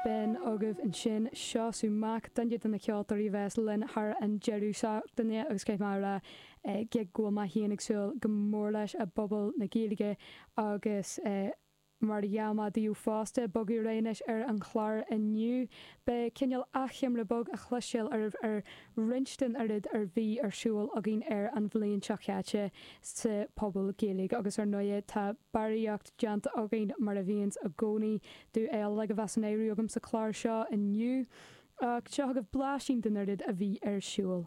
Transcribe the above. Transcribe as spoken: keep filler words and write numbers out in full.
B'in agaibh ansin Seosamh Mac, duine de na ceoltóirí a bheas linn thar an deireadh seachtaine agus caithfidh mé a rá go bhfuil mé féin ag súil go mór leis i bPuball na Gaeilge agus mar a gheall mé daoibh fosta, bogadh ar aghaidh anois ar an chlár inniu. Beidh cineál achoimre beag a chloisteáil oraibh ar roinnt den oiread ar bhí ar siúl againn ar an bhliain seo chaite sa Phuball Gaeilge agus ar ndóigh tá barraíocht déanta againn mar a bhíonns i gcónaí do uilig a bheas san áireamh agam sa chlár seo inniu. Ach seo agaibh blaisín den oiread a bhí ar siúl.